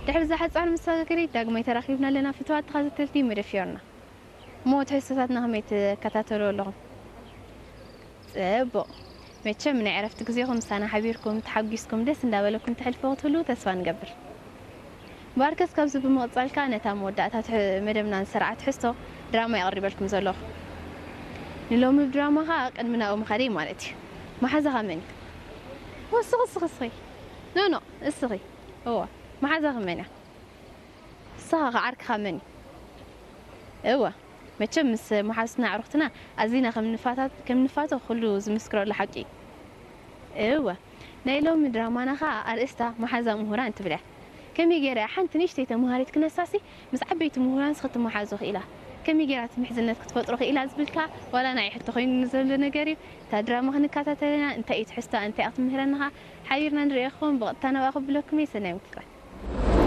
ድሕሪ እዛ ሓጻር መሰጋገሪት ዳግማይ ተራኺብና ኣለና ፍትዋት ተኸታተልቲ መደብ ፊዮርና። እሞ ትሕዝቶታትና ከመይ ትከታተሉ ኣለኹም? ጽቡቕ። መቸም ናይ ዕረፍቲ ግዜኹም ምሳና ሓቢርኩም፣ ተሓጒስኩም፣ ደስ እንዳበለኩም ተሕልፎ ክትህልዉ ተስፋ ንገብር። እምበኣርከስ ካብዚ ብምቕጻልካ ነታ መወዳእታ ትሕ-፣ መደብና ዝሰርዓ ትሕዝቶ ድራማ የቕርበልኩም ዘለኹ። ንሎሚ ብድራማ ኸኣ ቅድሚ ናብኡ ምኻደይ ማለት እዩ። መሓዛኻ መን እዩ? ወስኺ፣ እስኺ፣ እስኺ። ኖ፣ ኖ፣ እስኺ። እወ፣ መሓዛኺ መን እያ? ንስኻ ኸ ዓርክኻ መን እዩ? እወ፣ መቸም ምስ መሓዙትና ኣዕሩኽትና ኣዚና ከም ንፋታት-፣ ከም ንፋቶ ኩሉ ዝምስክረሉ ሓቂ እዩ። እወ፣ ናይ ሎሚ ድራማና ኸኣ ኣርእስታ መሓዛ ምሁራን ትብል እያ። ከመይ ገይራ እያ ሓንቲ ንእሽተይ ተምሃሪት ክነሳሲ ምስ ዓበይቲ ምሁራንስ ክትመሓዞ ክኢላ? ከመይ ገይራ እቲ ምሕዝነት ክትፈጥሮ ክኢላ ዝብል ከኣ ዋላ ንዓይ ሕቶ ኮይኑ ዘሎ ነገር እዩ። እታ ድራማ ክንከታተል ኢና። እንታይ እዩ ትሕዝቶኣ፣ እንታይ እያ ክትምህረና ኸኣ ሓቢርና ንርእዮ ክኸውን ብቐጥታ ናብኣ ከብለኩም እየ። ሰናይ ምክትታል።